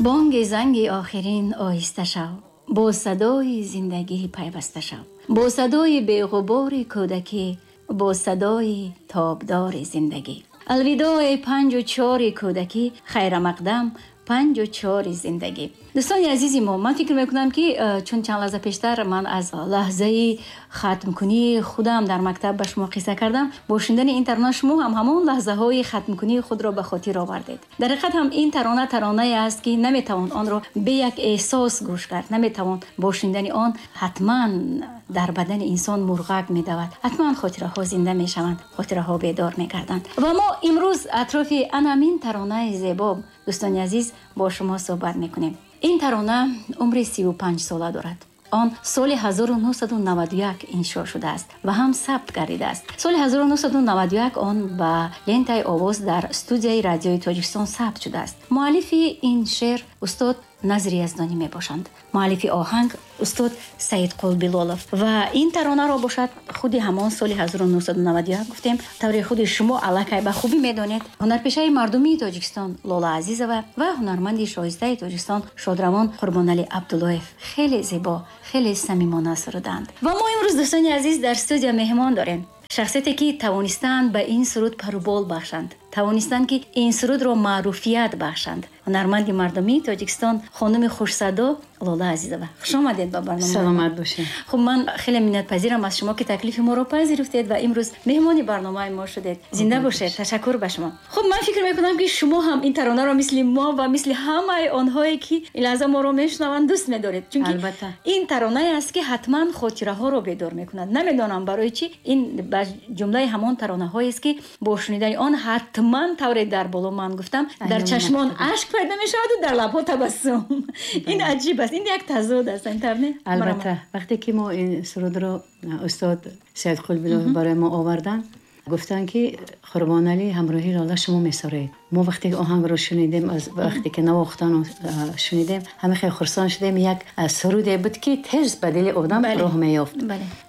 Бонги занги охирин оҳиста шав, бо садои зиндагӣ пайваста шав, бо садои беғубори кӯдакӣ, бо садои тобдори зиндагӣ. Алвидоъ, эй панҷу чори кӯдакӣ, хайрамақдам, панҷу чори зиндагӣ. Дӯстони азизи мо, ман фикр мекунам, ки чун чанд лаҳза пештар ман аз лаҳзаи хатмкунии худам дар мактаб ба шумо қисса кардам, бо шунидани ин тарона шумо ҳам ҳамон лаҳзаҳои хатмкунии худро ба хотир овардед. Дар ҳақиқат ҳам ин тарона таронае аст, ки наметавон онро бе як эҳсос гӯш кард, наметавон. Бо шунидани он ҳатман дар бадани инсон мурғак медавад, ҳатман хотираҳо зинда мешаванд, хотираҳо бедор мегарданд. Ва мо имрӯз атрофи анамин таронаи зебо, дӯстони азиз, бо шумо суҳбат мекунем. Ин тарона умри 35 сола дорад. Он соли 1991 иншо шудааст ва ҳам сабт гардидааст. Соли 1991 он ба лентаи овоз дар студияи Радиои Тоҷикистон сабт шудааст. Муаллифи ин шеър устод Назри Яздонӣ мебошанд, муаллифи оҳанг устод Саидқул Билолов. Ва ин таронаро бошад, худи ҳамон соли 1991 гуфтем, тавре худи шумо аллакай ба хубӣ медонед, ҳунарпешаи мардумии Тоҷикистон Лола Азизова ва ҳунарманди шоистаи Тоҷикистон шодравон Қурбоналӣ Абдуллоев хеле зебо, хеле самимона суруданд. Ва мо имрӯз, дӯстони азиз, дар студия меҳмон дорем, шахсияте ки тавонистанд ба ин суруд парубол бахшанд, тавонистанд, ки ин сурудро маъруфият бахшанд, ҳунарманди мардумии Тоҷикистон, хонуми хушсадо Лола Азизова. Хуш омадед ба барнома. Саломат бошед. Хуб, ман хеле миннатпазирам аз шумо, ки таклифи моро пазируфтед ва имрӯз меҳмони барномаи мо шудед. Зинда бошед, ташаккур ба шумо. Хуб, ман фикр мекунам, ки шумо ҳам ин таронаро мисли мо ва мисли ҳамаи онҳое, ки ин лаҳза моро мешунаванд, дӯст медоред, чунки ин таронае аст, ки ҳатман хотираҳоро бедор мекунад. Намедонам барои чӣ, ин ба ҷумлаи ҳамон таронаҳоест, ки бо шунидани он ҳатман, тавре дар боло ман гуфтам, дар чашмон ашк пайдо мешаваду дар лабҳо табассум. Ин аҷиб аст, ин як тазод аст, ин тавр не? Албатта, вақте ки мо ин сурудро устод Саидқул Билолов барои мо оварданд, гуфтанд, ки Қурбоналӣ ҳамроҳи Лола шумо месароед. Мо вақте ки оҳангро шунидем, аз вақте ки навохтану шунидем, ҳама хеле хурсанд шудем. Як суруде буд, ки тез ба дили одам роҳ меёфт.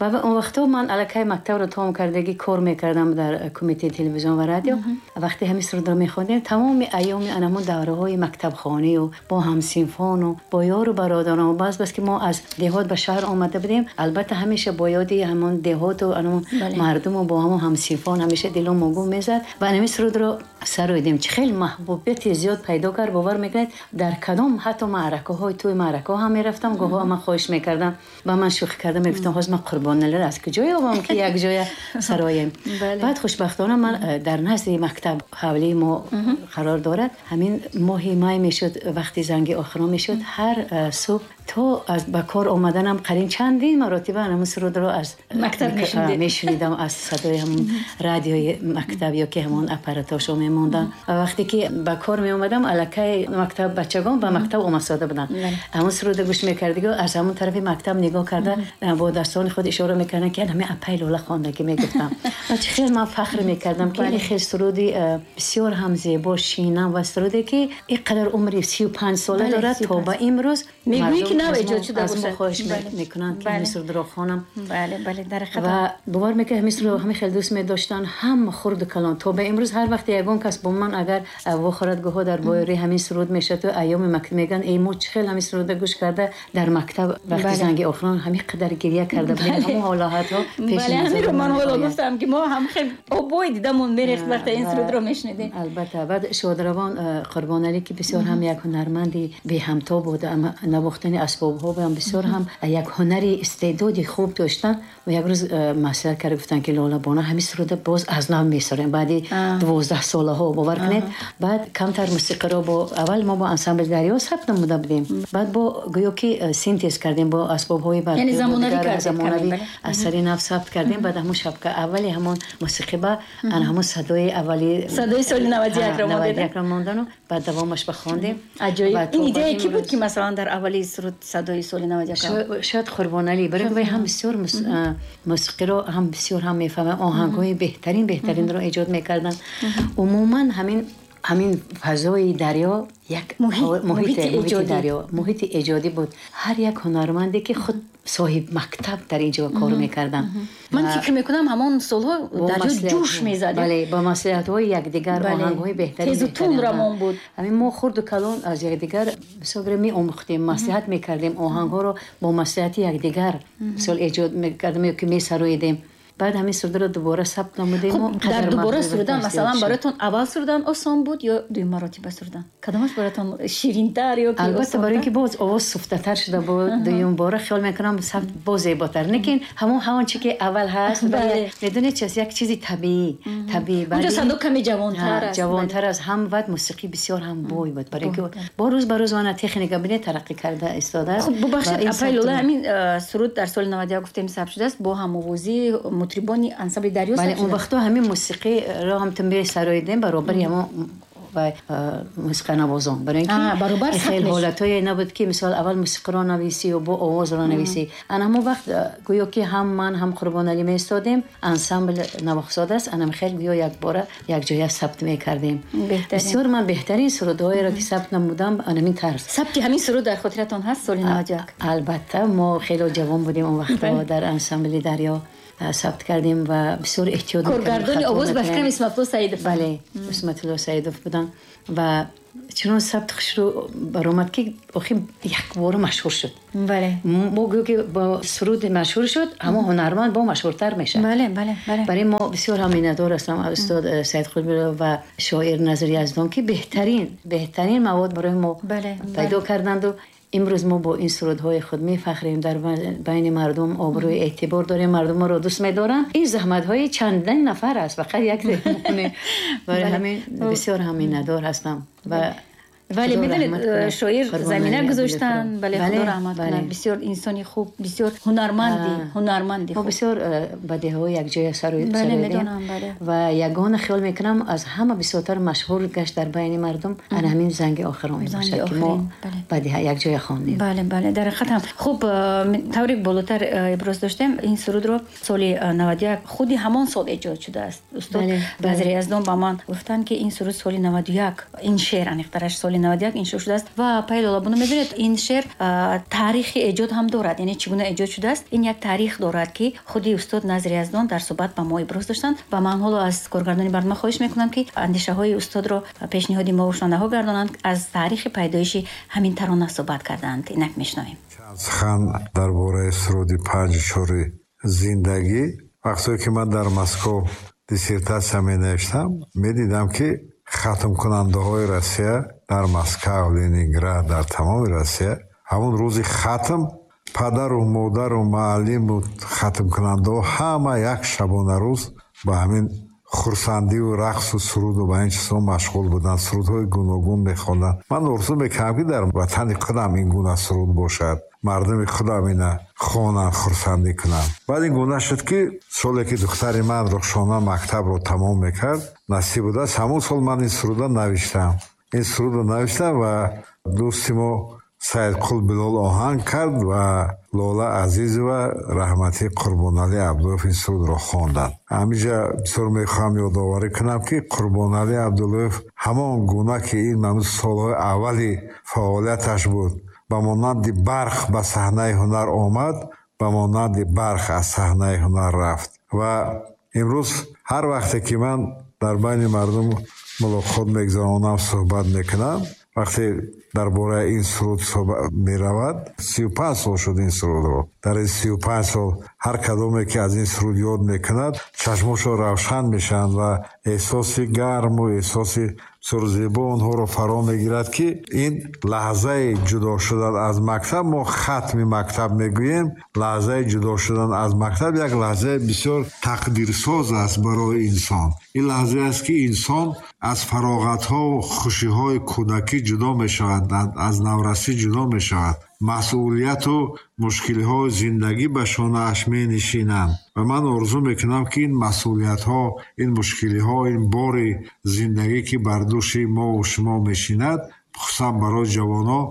Ва он вақтҳо ман аллакай мактабро тамом кардагӣ, кор мекардам дар Кумитаи телевизион ва радио. Вақте ҳамин сурудро мехондем, тамоми айёми анамон давраҳои мактабхонию бо ҳамсинфону бо ёру бародарон, баъз бас ки мо аз деҳот ба шаҳр омада будем, албатта, ҳамеша бо ёди ҳамон деҳоту анамон мардуму бо ҳамон ҳамсинфон ҳамеша дило могум мезад ва ҳамин сурудро сароидем. Чӣ хеле маҳбубияти зиёд пайдо кард, бовар мекунед, дар кадом ҳатто маъракаҳои тӯи маъракаҳо ҳам мерафтам, гоҳҳо ман хоҳиш мекардам, ба ман шӯхӣ карда мегуфтам: «Ҳозир ман Қурбоналиро аз куҷо ёбам, ки як ҷоя сароем?» Баъд хушбахтона ман дар назди мактаб ҳавлии мо қарор дорад. Ҳамин моҳи май мешуд, вақти занги охирон мешуд, ҳар субҳ то аз ба кор омаданам қарин чандин маротиба ҳамин сурудро аз мактаб мешунидам, аз садои ҳамон радиои мактаб ё ки ҳамон аппаратошо мемондам. Ва вақте ки ба кор меомадам, аллакай мактаб бачагон ба мактаб омадсода буданд. Ҳамон сурудро гӯш мекардиго, аз ҳамон тарафи мактаб нигоҳ карда, бо дастони худ ишора мекарданд, ки ҳамин апай Лола хондагӣ, мегуфтам. Ва чӣ хел ман фахр мекардам, ки ин хел суруди бисёр ҳам зебо, шинам ва суруде, ки ин қадар умри 35 сола дорад, то ба имрӯз мегӯӣ, ки нав эҷод шуда бошад. Хоҳиш мекунанд, ки ҳамин сурудро хонам. Бале, бале, дар ва бовар мекунед, ҳамин сурудро ҳамин хел дӯст медоштанд ҳам хурду калон. То ба имрӯз ҳар вақте ягон кас бо ман агар вохӯрад, гоҳо дар бораи ҳамин суруд мешавад, айёми мактаб мегӯянд: «Эй, мо чӣ хел ҳамин сурудро гӯш карда, дар мактаб вақти занги охирон ҳамин қадар гиря карда будем». Ҳамон ҳолатҳо пеш. Ҳаминро ман ҳоло гуфтам, ки мо ҳам хел обои дидамон мерехт, вақте ин сурудро мешунидем. Албатта. Баъд шодравон Қурбоналӣ, ки бисёр ҳам як ҳунарманди беҳамто буд, навохтани асбобҳо ҳам бисёр ҳам як ҳунари истеъдоди хуб доштанд, ва як рӯз маслиҳат карда гуфтанд, ки Лола бона, ҳамин суруда боз аз нав месорем баъди 12 солаҳо. Бовар кунед, баъд камтар мусиқиро бо аввал мо бо ансамбли «Дарё» сабт намуда будем, баъд бо гӯё ки синтез кардем бо асбобҳои замонавӣ, аз сари нав сабт кардем. Баъд ҳамон шабка аввали ҳамон мусиқӣ ба ан ҳамон садои аввали садои соли 91-ро 91-ро мондану баъд давомаш ба хондем. Аҷоиб! Ин идея ки буд, ки масалан дар аввали суруд садои соли 91? Шояд Қурбоналӣ, барои вай ҳам бисёр мусиқиро ҳам бисёр ҳам мефаҳмам, оҳангҳои беҳтарин беҳтаринро эҷод мекарданд. Умуман ҳамин Ҳамин фазои дарё як муҳити дарё, муҳити эҷодӣ буд. Ҳар як ҳунарманде ки худ соҳиб мактаб дар инҷо кор мекарданд. Ман фикр мекунам ҳамон солҳо дарё ҷӯш мезад. Бале, бо маслиҳатҳои якдигар оҳангҳои беҳтарин тезу тунд равон буд. Ҳамин мо хурду калон аз якдигар бисёр меомӯхтем, маслиҳат мекардем, оҳангҳоро бо маслиҳати якдигар мисол эҷод мекардем ё ки месароидем. Баъд ҳамин сурудро дубора сабт намудем. Дар дубора сурудан масалан бароятон аввал сурудан осон буд ё дуюм маротиба сурудан? Кадомаш бароятон ширинтар ё ки албатта барои инки боз овоз суфтатар шуда буд, дуюм бора хиёл мекунам сабт боз зеботар. Лекин ҳамон чи ки аввал ҳаст, медонед чи аст, як чизи табиӣ, табиӣ. Онҷо садо каме ҷавонтар аст. Ҷавонтар аст, ҳам баъд мусиқӣ бисёр ҳам бой буд. Барои инки бо рӯз ба рӯз мана техника бинед тараққӣ карда истодааст. Хуб, бубахшед, апай Лола, ҳамин суруд дар соли 91 гуфтем сабт шудааст бо ҳамовозии мутрибони ансамбли дарё. Бале, он вақтҳо ҳамин мусиқиро ҳам ту месароидем баробари ҳамон ва мусиқанавозон. Барои инки хеле ҳолатҳое набуд ки мисол аввал мусиқиро нависӣ ё бо овозро нависӣ. Ана ҳамон вақт гӯё ки ҳам ман ҳам Қурбоналӣ меистодем, ансамбл навохсод аст, анам хеле гӯё якбора якҷоя сабт мекардем. Бисёр ман беҳтарин сурудҳоеро ки сабт намудам анамин тарз. Сабти ҳамин суруд дар хотиратон ҳаст соли 91? Албатта, мо хеле ҷавон будем он вақтҳо, дар ансамбли дарё сабт кардем ва бисёр эҳтиёт мекардем. Коргардони овоз ба фикрам Исматулло Саидов. Бале, Исматулло Саидов буданд ва чунон сабт хушрӯ баромад ки охир якбора машҳур шуд. Бале. Мо гӯё ки бо суруд машҳур шуд, ҳамон ҳунарманд бо машҳуртар мешавад. Бале, бале, бале. Барои мо бисёр ҳам миннатдор ҳастам аз устод Саид Қулбилов ва шоир Назир Яздон ки беҳтарин мавод барои мо пайдо карданд. Имрӯз мо бо ин сурудҳои худ мефахрем, дар байни мардум обрӯи эътибор дорем, мардум моро дӯст медоранд. Ин заҳматҳои чандин нафар аст, фақат як не. Барои ҳамин бисёр ҳам миннатдор ҳастам. Вале медонед, шоир замина гузоштанд, бале, худо раҳмат кунад. Бисёр инсони хуб, бисёр ҳунарманди хуб. Мо бисёр бадеҳаҳо якҷоя сароидем ва ягона хиёл мекунам аз ҳама бисёртар машҳур гашт дар байни мардум ана ҳамин занги охирон мебошад ки мо бадеҳа якҷоя хондем. Бале, бале, дар ҳақиқат ҳам хуб. Тавре болотар иброз доштем, ин сурудро соли 91, худи ҳамон сол эҷод шудааст. Устод Назир Яздон ба ман гуфтанд ки ин суруд соли 91, ин шеър аниқтараш соли 91 иншо шудааст. Ва апай Лола, буно медонед, ин шеър таърихи эҷод ҳам дорад, яъне чӣ гуна эҷод шудааст, ин як таърих дорад ки худи устод Назир Яздон дар суҳбат ба мо иброз доштанд. Ва ман ҳоло аз коргардони барнома хоҳиш мекунам ки андешаҳои устодро пешниҳоди мо шунавандаҳо гардонанд, аз таърихи пайдоиши ҳамин тарона суҳбат карданд. Инак мешунавем. Сухан дар бораи суруди 5-4 зиндагӣ. Вақтое ки ман дар Москва диссертатсия менавиштам, медидам ки хатмкунандаҳои Россия дар Москва, Ленинград, дар тамоми Россия ҳамон рӯзи хатм падару модару муаллиму хатмкунандаҳо ҳама як шабонарӯз ба ҳамин хурсандиву рақсу суруду ба ин чизҳо машғул буданд, сурудҳои гуногун мехонданд. Ман орзу мекардам ки дар ватани худам ин гуна суруд бошад, мардуми худам ина хонанд, хурсандӣ кунанд. Баъд ин гуна шуд ки соле ки духтари ман Рухшона мактабро тамом мекард, насиб будааст, ҳамон сол ман ин сурудро навиштам. Ин сурудро навиштам ва дӯсти мо Саидқул Билол оҳанг кард ва Лола Азизова раҳматӣ Қурбоналӣ Абдуллоев ин сурудро хонданд. Ҳаминҷа бисёр мехоҳам ёдоварӣ кунам ки Қурбоналӣ Абдуллоев ҳамон гуна ки ин ҳамун солҳои аввали фаъолияташ буд, ба монанди барқ ба саҳнаи ҳунар омад, ба монанди барқ аз саҳнаи ҳунар рафт. Ва имрӯз ҳар вақте ки ман дар байни мардум мулоқот мегузаронам, суҳбат мекунам, вақте дар бораи ин суруд суҳбат меравад, 35 сол шуд ин сурудро. Дар ин 35 сол ҳар кадоме ки аз ин суруд ёд мекунад, чашмошон равшан мешаванд ва эҳсоси гарму эҳсоси бисёр зебо онҳоро фаро мегирад ки ин лаҳзаи ҷудо шудан аз мактаб, мо хатми мактаб мегӯем, лаҳзаи ҷудо шудан аз мактаб як лаҳзаи бисёр тақдирсоз аст барои инсон. Ин лаҳзае аст ки инсон аз фароғатҳову хушиҳои кӯдакӣ ҷудо мешавад, аз наврасӣ ҷудо мешавад, масъулияту мушкилиҳои зиндагӣ ба шонааш менишинанд. Ва ман орзу мекунам ки ин масъулиятҳо, ин мушкилиҳо, ин бори зиндагӣ ки бар дӯши мову шумо мешинад, хусусан барои ҷавонон,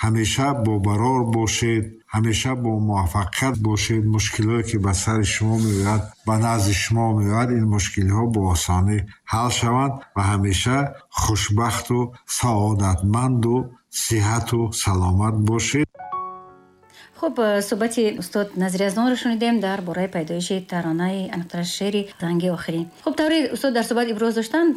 Ҳамеша бобарор бошед, ҳамеша бо муваффақият бошед. Мушкилҳое ки ба сари шумо меояд, ба назди шумо меояд, ин мушкилиҳо бо осонӣ ҳал шаванд ва ҳамеша хушбахту саодатманду сиҳату саломат бошед. Хуб, суҳбати устод Назири Яздонро шунидем дар бораи пайдоиши таронаи, аниқтараш шеъри «Занги охирин». Хуб, тавре устод дар суҳбат иброз доштанд,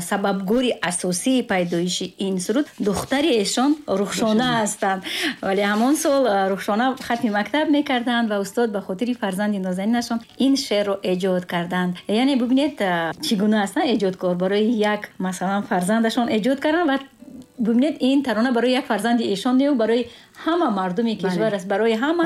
сабабгори асосии пайдоиши ин суруд духтари эшон Рухшона ҳастанд. Вале ҳамон сол Рухшона хатми мактаб мекарданд ва устод ба хотири фарзанди нозанинашон ин шеърро эҷод карданд. Яъне бубинед, чӣ гуна ҳастанд эҷодкор. Барои як, масалан, фарзандашон эҷод карданд ва бубинед, ин тарона барои як фарзанди эшон не, барои ҳама мардуми кишвар аст, барои ҳама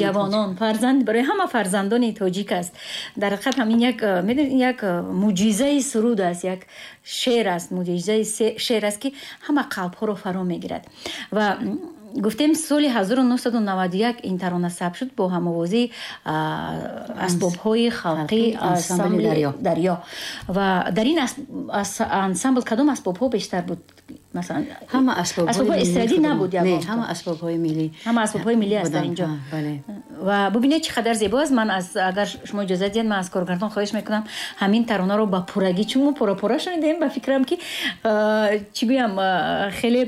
ҷавонон, фарзанд, барои ҳама фарзандони тоҷик аст. Дар ҳақиқат ҳам ин як, медонед, як мӯъҷизаи суруд аст, як шеър аст, мӯъҷизаи шеър аст, ки ҳама қалбҳоро фаро мегирад. Ва гуфтем, соли 1991 ин тарона сабт шуд бо ҳамовозии асбобҳои халқӣ, ансамбли «Дарё». Ва дар ин ансамбл кадом асбобҳо бештар буд? Масалан, ҳама асбобҳои эстрадӣ набуд? Не, ҳама асбобҳои миллӣ. Ҳама асбобҳои миллӣ аст дар инҷо. Ва бубинед, чӣ қадар зебо аст. Ман аз, агар шумо иҷозат диҳед, ман аз коргардон хоҳиш мекунам, ҳамин таронаро ба пуррагӣ, чун мо пора-пора шунидем, ба фикрам ки, чӣ гӯям, хеле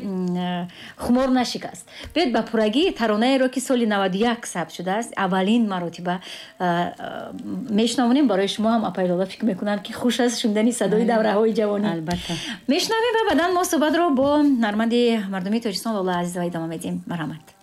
хумор нашикаст. Биёед, ба пуррагӣ таронаеро, ки соли 91 сабт шудааст, аввалин маротиба мешунавонем. Барои шумо ҳам, апаи Лола, фикр мекунам, ки хуш аст шунидани садои давраҳои ҷавонӣ. Албатта. Мешунавем ва баъдан мо суҳбатро бо ҳунарманди мардумии Тоҷикистон Лола Азизова идома медиҳем. Марҳамат.